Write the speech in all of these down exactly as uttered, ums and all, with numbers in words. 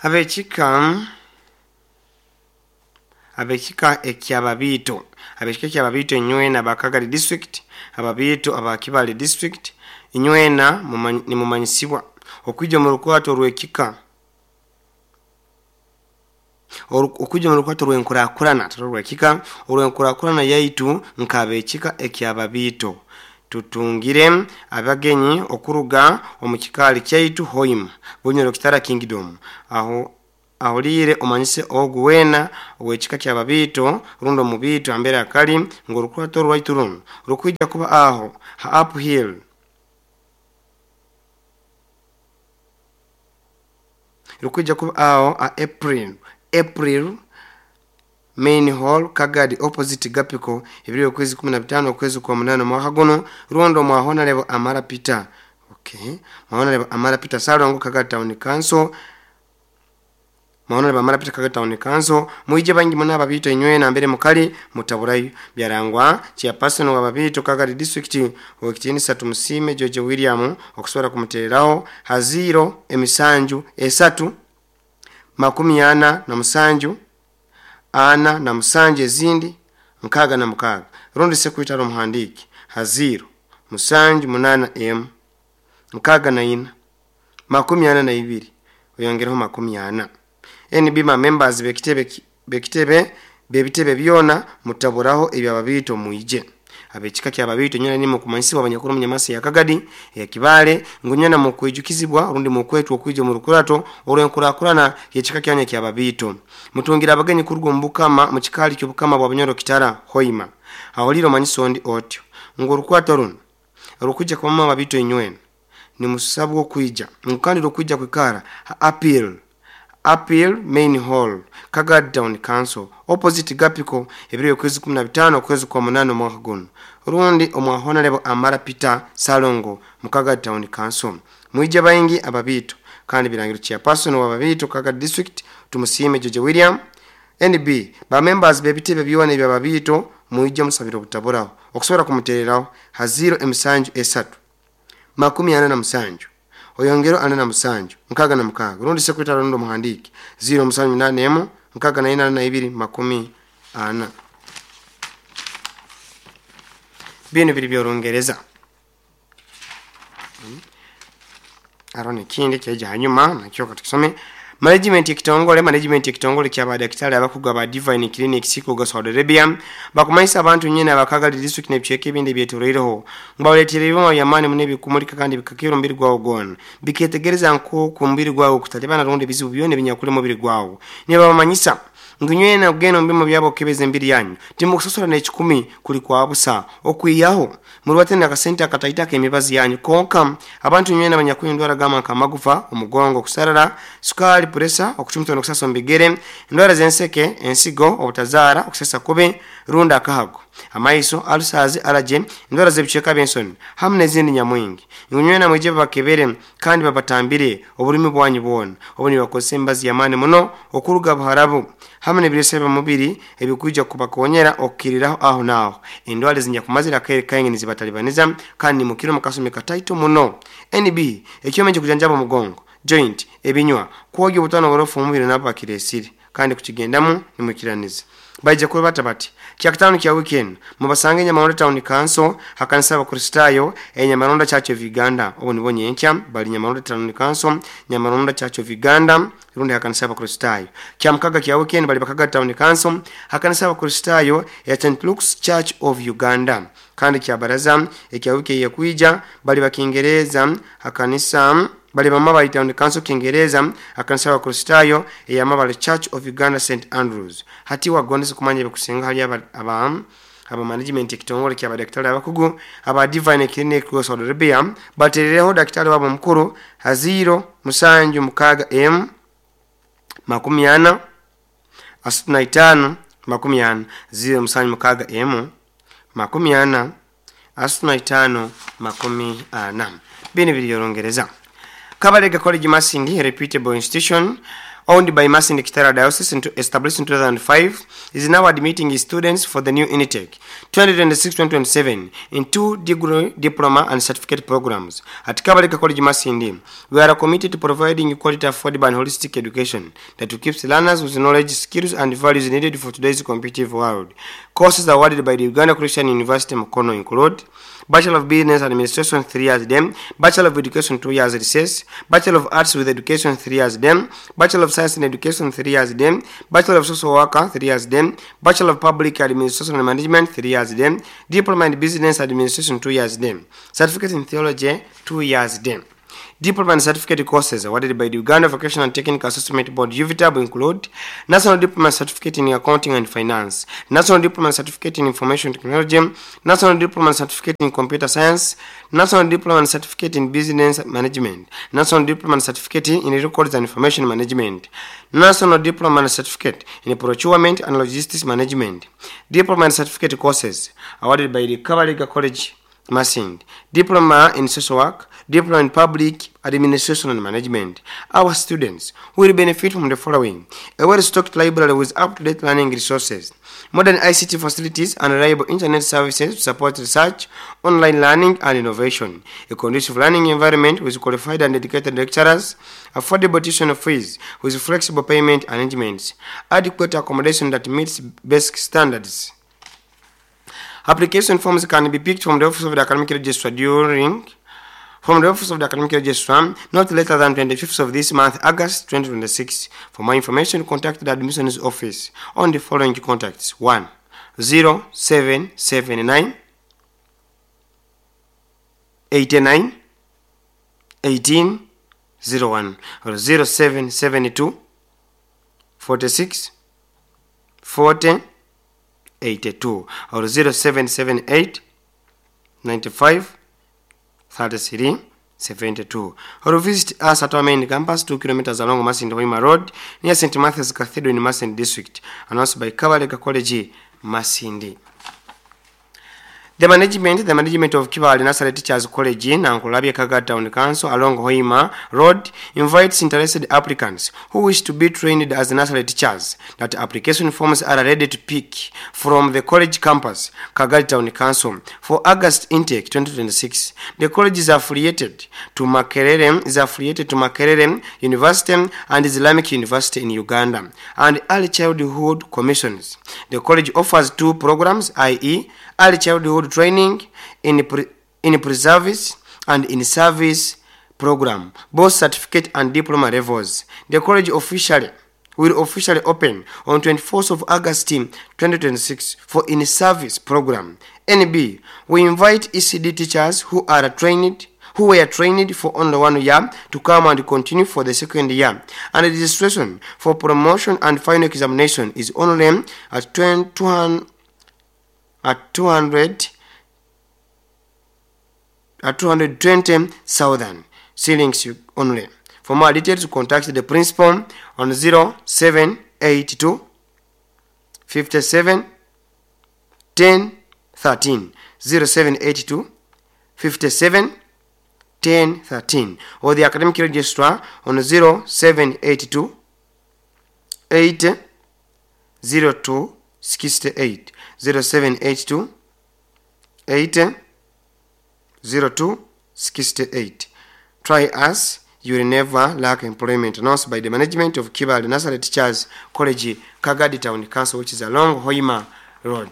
Abekika abekika ekyababito abekika ekyababito inywena Bakagadi district, ababito abakibale district inywena nimumanyisibwa okwija mu rukwato rwekika okwija mu rukwato rwenkurakurana rwekika orwenkurakurana yaitu nkabekika ekyababito. Tutungire abagenyi okuruga omu kikaali kyaitu Hoima Bunyoro Kitara Kingdom. Aho ahulire omanyise ogu wena owekika kyababito rundi omubito ambere akali ngu orukwato rwaitu runo rukwija kuba aho ha uphill rukwija kuba aho a April April Main Hall Kagadi opposite Gapiko ebiro okwezi kumi na bitano okwezi kwa munana mwaka guno rundo mwa Honorable Amara Peter. Okay, mwa Honorable Amara Peter Salongo Kagadi Town Council, mwa Honorable Amara Peter Kagadi Town Council. Muije bangi muna ababito inywena mbere mukali mutaburayo byarangwa chairperson wa babito Kagadi district owekitinisa Tumusime George William okusobola kumutereraho haziro emisanju esatu makumi ana na musanju ana na musanju ezindi nkaga na mukaga rundi sekuitaro muhandiki haziro musanju munana m nkaga na ina makumi ana na ibiri oyongereho makumi ana. N B ma members bekitebe bekitebe bebitebe byona mutaburaho ebyababito muije abekika kyababito nyana nimo kumanyisibwa abanyakuru munyamasi ya Kagadi ya Kibale ngunyana mu kwijukizibwa rundi mu kwetu okwijo mu rukurato olwenkurakurana yekika kyanya kyababito. Mutungira abagenyi kurugo mbukama mu kikaali kyobukama bwa Bunyoro Kitara Hoima. Ahuliro manyiso ndi otyo ngo rukwato runo rukujja kwa mama babito inywena ni musabwo kwija nkandi rukujja kwikara appeal Appeal Main Hall Kagadi Town Council opposite Gapiko ebiro kwezi kumi na bitano kwezi kwa munano mwaka guno rundi omwa Honorable Amara Peter Salongo mu Kagadi Town Council. Muije baingi ababito kandi birangiro chairperson wa babito Kagadi district Tumusime George William. N B ba members bebitebe byona ebya babito muije musabiro butaburaho okusobola kumutereraho haziro emisanju esatu makumi ana na musanju oyongero ana na musanju nkaga na mukaga rundi sekretary rundi muhandiki zero musanju nane emu nkaga na ina na ibiri makumi ana. Bino biri byorungereza hmm. Arone kindi kyeja hanyuma nakyo katukisome. Management ekitongole management ekitongole kya badaktari abakugu aba Divine Clinic siko Saudi Arabia bakumanyisa abantu nyene abakagali district nebicheke ebindi byetoreireho ngabaleetera ebyuma byamaani mune bikumulika kandi bikakira omubiri gwawo gwona biketegereza nko ku mubiri gwawo kutalibana rundi bizibu byona ebinyakuli mubiri gwawo. Nibabamanyisa ngunywena ogeno mbimo byabo kebeze mbiri yanyu timukusosola n'ekikumi kuli kwa busa okwiyaho murwate akasente akataita kemibazi yanyu konka abantu nywena abanyakunywa endwara gama nk'amagufa omugongo kusarara sukali puresa okucumita n'okusasa omu bigere endwara z'enseke ensigo obutazaara okusesa kubi runda akahago amaiso alusazi alaje endwara z'ebicweka by'ensoni hamu n'ezindi nyamwingi. Ngunywena mwije babakebere kandi babatambire obulimi bwanyu bwona obu nibakozesa emibazi y'amaani muno okuruga Buharabu hamu n'ebiresa by'omubiri ebikuija kubakonyera okukiriraho aho naaho endwara ezinyakumazire akaire kaingi nizibatalibaniza kandi mukiro mukasumi kataito muno. N B ekyoma ekikujanjaba omugongo joint ebinywa kwogya obutano oburofu omubiri nabo bakiresire kandi kukigendamu nimukiraniza. Baija kuba bata bati kyakutano kya weekend mubasange Nyamaronda Town Council hakanisa abakristayo e Nyamaronda Church of Uganda obu nibo nyenkya bali Nyamaronda Town Council Nyamaronda Church of Uganda rundi hakanisa abakristayo. Kyamukaga kya weekend bali Bakaga Town Council hakanisa abakristayo ya Saint Luke's Church of Uganda kandi kya baraza ekya wiki yekuija bali bakingereza hakanisa bali Bamabali Town Council Kingereza akanisa abakristayo eya Mabali Church of Uganda Saint Andrews. Hati wagondesa kumanya ebikusinga hali aba aba, aba management ekitongole kya badaktari abakugu aba Divine Clinic Saudi Arabia baterereho daktari wabo mukuru haziro musanju mukaga m makumi ana asatu na itano makumi ana ziro musanju mukaga m makumi ana asatu na itano makumi ana. Bino biri byorongereza. Kabalega College Masindi reputable institution owned by Masindi Kitara Diocese and established in two thousand five, is now admitting students for the new intake twenty twenty-six twenty twenty-seven in two degree, diploma and certificate programs. At Kabalega College Masindi, we are committed to providing quality, affordable and holistic education that keeps learners with knowledge, skills and values needed for today's competitive world. Courses awarded by the Uganda Christian University Mukono include Bachelor of Business Administration three years dem, Bachelor of Education two years recess, Bachelor of Arts with Education three years dem, Bachelor of Science in Education three years dem, Bachelor of Social Worker three years dem, Bachelor of Public Administration and Management three years dem, Diploma in Business Administration two years dem, Certificate in Theology two years dem. Diploma and certificate courses awarded by the Uganda Vocational and Technical Assessment Board U V T A B include National Diploma Certificate in Accounting and Finance, National Diploma Certificate in Information Technology, National Diploma Certificate in Computer Science, National Diploma and Certificate in Business Management, National Diploma and Certificate in Records and Information Management, National Diploma and Certificate in Procurement and Logistics Management. Diploma and Certificate courses awarded by the Kabalega College Masindi, Diploma in Social Work, Diploma in Public Administration and Management. Our students will benefit from the following: a well-stocked library with up-to-date learning resources, modern I C T facilities and reliable internet services to support research, online learning and innovation, a conducive learning environment with qualified and dedicated lecturers, affordable tuition fees with flexible payment arrangements, adequate accommodation that meets basic standards. Application forms can be picked from the Office of the Academic Registrar during from the Office of the Academic Registrar not later than twenty-fifth of this month, August twenty twenty-six. For more information, contact the admissions office on the following contacts: one zero seven seven nine eighty-nine eighteen zero one or zero seven seven two forty-six forty eighty-two or zero seven seven eight ninety-five thirty-three seventy-two, or visit us at our main campus two kilometers along Masindi Hoima Road near Saint Matthew's Cathedral in Masindi District. Announced by Kabalega College Masindi. The management, the management of Kibaale Nursery Teachers College in Nankulabye Kagadi Town Council along Hoima Road invites interested applicants who wish to be trained as nursery teachers that application forms are ready to pick from the college campus, Kagadi Town Council, for August intake twenty twenty-six. The college is affiliated to Makerere, is affiliated to Makerere University and Islamic University in Uganda and Early Childhood Commissions. The college offers two programs, that is, early childhood training in pre, in pre-service and in service program, both certificate and diploma levels. The college officially will officially open on twenty-fourth of August twenty twenty-six for in-service program. N B, we invite E C D teachers who are trained who were trained for only one year to come and continue for the second year. And registration for promotion and final examination is only at two hundred at two hundred at two hundred twenty thousand shillings only. For more details, contact the principal on zero seven eight two fifty-seven ten thirteen, zero seven eight two fifty-seven ten thirteen, or the academic registrar on zero seven eight two eight zero two sixty-eight, zero seven eight two eight zero two sixty-eight. Try us, you will never lack employment. Announced by the management of Kibaale Nursery Teachers College, Kagadi Town Council, which is along Hoima Road.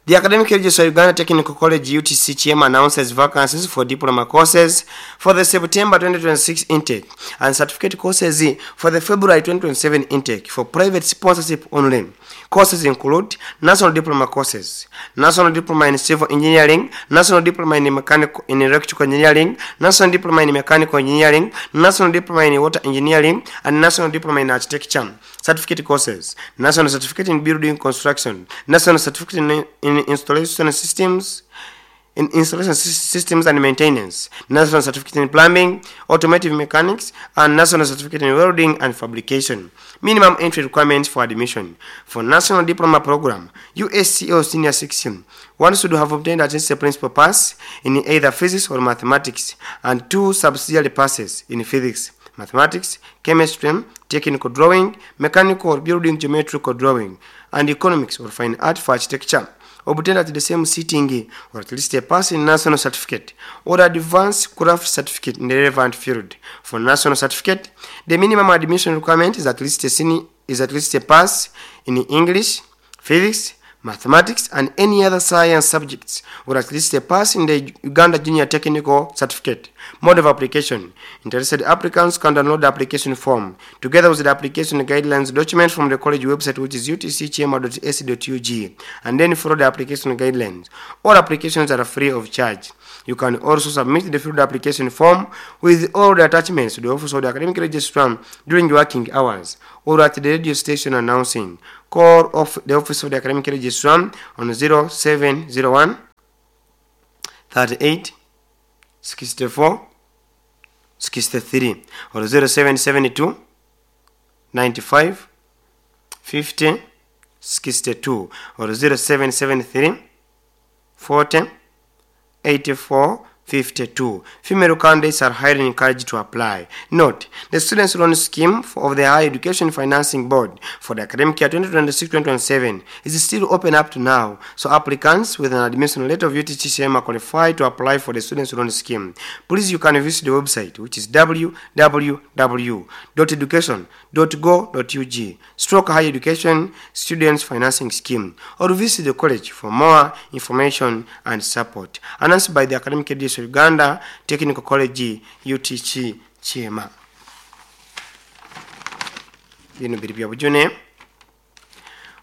The Academic Registrar Uganda Technical College U T C Chairman announces vacancies for diploma courses for the September twenty twenty-six intake and certificate courses for the February twenty twenty-seven intake for private sponsorship only. Courses include National Diploma courses, National Diploma in Civil Engineering, National Diploma in Mechanical in Electrical Engineering, National Diploma in Mechanical Engineering, National Diploma in Water Engineering, and National Diploma in Architecture. Certificate courses, National Certificate in Building Construction, National Certificate in, in Installation Systems, in Installation Systems and Maintenance, National Certificate in Plumbing, Automotive Mechanics, and National Certificate in Welding and Fabrication. Minimum entry requirements for admission. For National Diploma Program, U S C O Senior Section, one should have obtained at least a principal pass in either physics or mathematics, and two subsidiary passes in physics, mathematics, chemistry, technical drawing, mechanical or building geometrical drawing, and economics or fine art for architecture. Obtained at the same sitting or at least a pass in national certificate or advanced craft certificate in the relevant field. For national certificate, the minimum admission requirement is at least a senior, is at least a pass in English, physics, mathematics, and any other science subjects, or at least a pass in the Uganda Junior Technical Certificate. Mode of application. Interested applicants can download the application form together with the application guidelines document from the college website, which is u t c kyema dot a c dot u g, and then follow the application guidelines. All applications are free of charge. You can also submit the filled application form with all the attachments to the office of the academic registrar during working hours or at the radio station announcing. Call off the office of the academic registrar on zero seven zero one thirty-eight sixty-four sixty-three or zero seven seven two ninety-five fifty sixty-two or zero seven seven three forty eighty-four fifty-two. Female candidates are highly encouraged to apply. Note, the Students' Loan Scheme of the Higher Education Financing Board for the academic year twenty twenty-six twenty twenty-seven is still open up to now, so applicants with an admission letter of U T C Kyema are qualified to apply for the Students' Loan Scheme. Please, you can visit the website, which is w w w dot education dot go dot u g stroke higher education students financing scheme, or visit the college for more information and support. Announced by the Academic Education Uganda Technical College U T C Kyema. Bino biri bya bujune.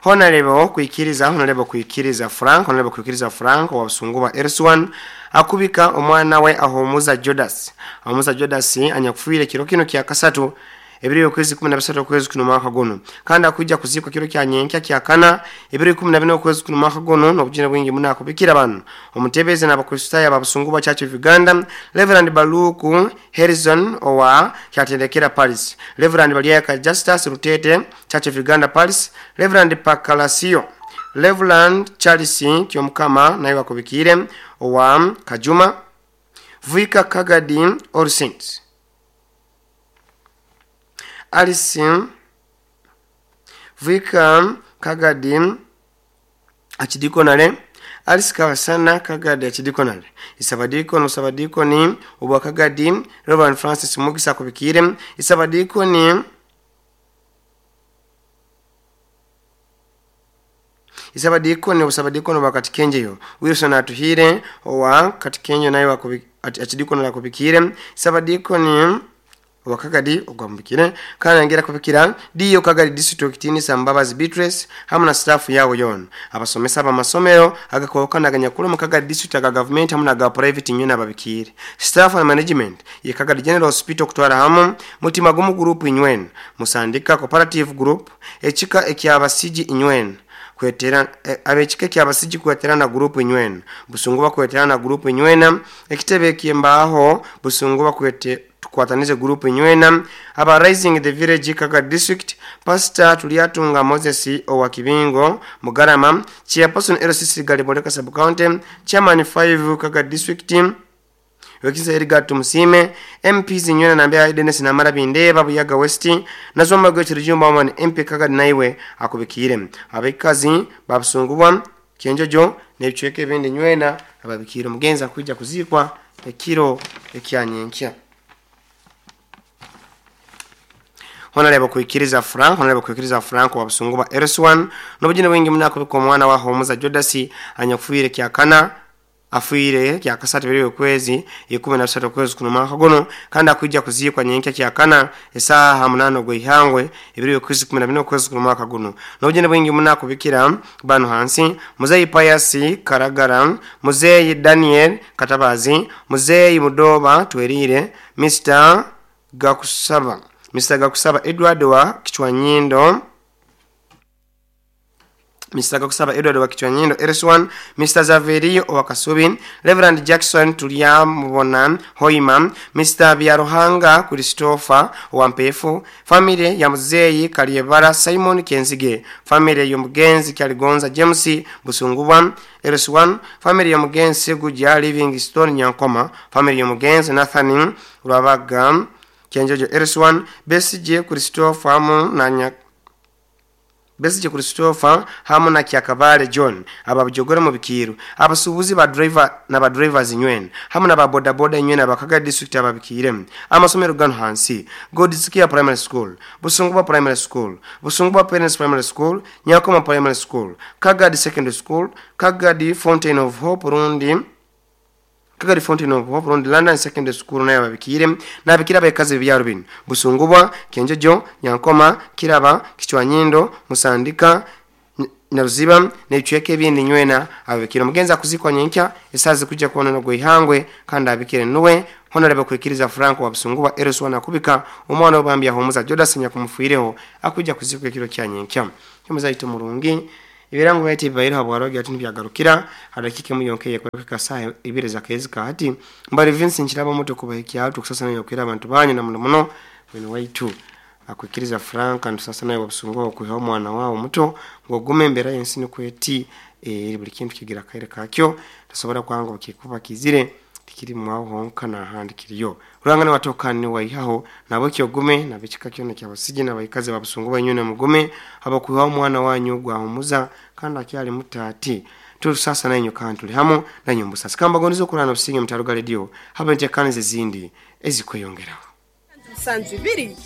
Honorable kuikiriza, Honorable kuikiriza Frank, Honorable kuikiriza Frank wa Busunguba Erswan akubika omwana we Ahomuza Judas. Ahomuza Judas anyakufuire kiro kino kya kasatu ebiro okwezi kumi na bisatu okwezi kuno mwaka guno, kandi akujja kuzikwa kiro kya nyenkya kya kana ebiro ikumi na bine okwezi kuno mwaka guno. N'obujune bwingi muno akubikira bano omutebeze n'abakristaayo ababusunguba Church of Uganda Reverend Baluku Harrison owa kyatendekera Paris, Reverend Baliaka Justus Rutete Church of Uganda Paris, Reverend Pakalasio, Reverend Charles Kyomukama naye wakubikire owa Kajuma, Vika Kagadi All Saints, Alice Vika Kagadi Achidikonale, Alice Kawasana Kagadi Achidikonale, Isabadiko no Sabadiko ni Obwa Kagadi Reverend Francis Mugisa kubikire, Isabadiko ni Isabadiko ni Usabadiko no Bakatikenjeyo Wilson Atuhire owa Katikenjo naye Achidikonale kubikire, Isabadiko ni wakagadi ogwambikire kana ngira kubikira diyo Kagadi district ni Sambabazi Beatrice hamwe na staff yawo yon abasomesa abamasomero agakokanaganya kula mu Kagadi district aga government hamwe na ga private nyuna ababikire staff and management ye Kagadi General Hospital kutwara hamwe mutima gumu group inywen musandika cooperative group echika ekyabasiji inywen kwetera e, abechike kyabasiji kweterana group inywen Busunguba kweterana group inywena ekitebe kyembaho Busunguba kwete tukwatanize group nywena aba Rising the Village Kagadi District Pastor Tuliatunga Moses owa Kibingo Mugarama, Chairperson L C C Galiboleka Sub County, Chairman five Kagadi District Wekisa Edgar Tumusime, M Ps nywena nambea Dennis Namara Bindeba Buyaga West nazomba gwe man M P Kagadi naiwe akubikire abekazi babusungubwa Kenjojo n'ebicweka ebindi nywena ababikire mugenza kujja kuzikwa ekiro ekyanyenkya. Honorable kuikiriza Frank, Honorable kuikiriza Frank wa Busunguba Erswan n'obujine bwingi munako ko mwana wa Homuza Judas anyakufuire kya kana afuire kya kasatu biri okwezi ikumi na bisatu okwezi kuno mwaka guno, kandi akujja kuzikwa nyenkya kya kana esaha munano gwe ihangwe ibiri okwezi kumi na bine okwezi kuno mwaka guno. N'obujine bwingi munako bikira bano hansi Muzeyi Pius Karagara, Muzeyi Daniel Katabazi, Muzeyi Mudoba Twerire, Mister Gakusaba Mister Gakusaba Edward wa Kichwanyindo, Mister Gakusaba Edward wa Kichwanyindo Erswan, Mister Zaverio wa Kasubi, Reverend Jackson Tulyamubona Hoima, Mister Biaruhanga Christopher wa Mpefu, family ya Muzeyi Kaliebara Simon Kenzige, family ya Mugenzi Kyaligonza James Busunguba Erswan, family ya Mugenzi Guja Livingstone Nyankoma, family ya Mugenzi Nathan Rwabaga Kyenjojo L C one Besigye Christopher hamu na nya Besigye Christopher hamu na Kyakabale John ababujogora mu bikiru abasubuzi ba driver na ba drivers nywena hamu na ba boda boda nywena abakaga district ababikire amasomero gano hansi Godsikia Primary School, Busungwa Primary School, Busungwa Parents Primary School, Nyakoma Primary School, Kagadi Secondary School, Kagadi Fountain of Hope Rundi Kagadi Fountain of Hope Rundi London Secondary School nayo babikire nabikira abakazi byaro bino Busungubwa, Kenjojo, Nyankoma, Kiraba, Kichwanyindo, Musandika, Naruziba n'ebicweka ebindi nywena ababikire. Mugenza kuzikwa nyenkya esazi kujja kuona no gwihangwe kandi abikire nuwe Honorable kwikiriza Franco wa Busungubwa L C one akubika omwana obambya homuza Jodas nyakumfuireho akujja kuzikwa ekiro kya nyenkya. Kyomuzaito murungi ibirango bayite bibaira habwaroge ati nibyagarukira hadakike muyonkeye kweka saa ibiri za kezi ka hati mbali Vincent kiraba moto kubahikia atu kusasa nayo kwira abantu banyu na muno muno wenu waitu akwikiriza Frank and sasa nayo Busungubwa kuha omwana wao muto ngo gume mbera yensi kweti e, buli kintu kigira kaire kakyo tasobora kwanga bakikuba kizire tikiri mwaho honka na handi kiriyo urangane watokane waihaho nabo kyogume nabikika kyona kyabasije nabayikaze babusungubwa nyune mugume abakuha omwana wanyu gwa humuza kandi akyali mutati tuli sasa nanyu kandi hamo nanyu mbusasa kamba gonizo kurana businge mutaruga radio haba ntekanize zindi ezikweyongeraho Sanzu biri.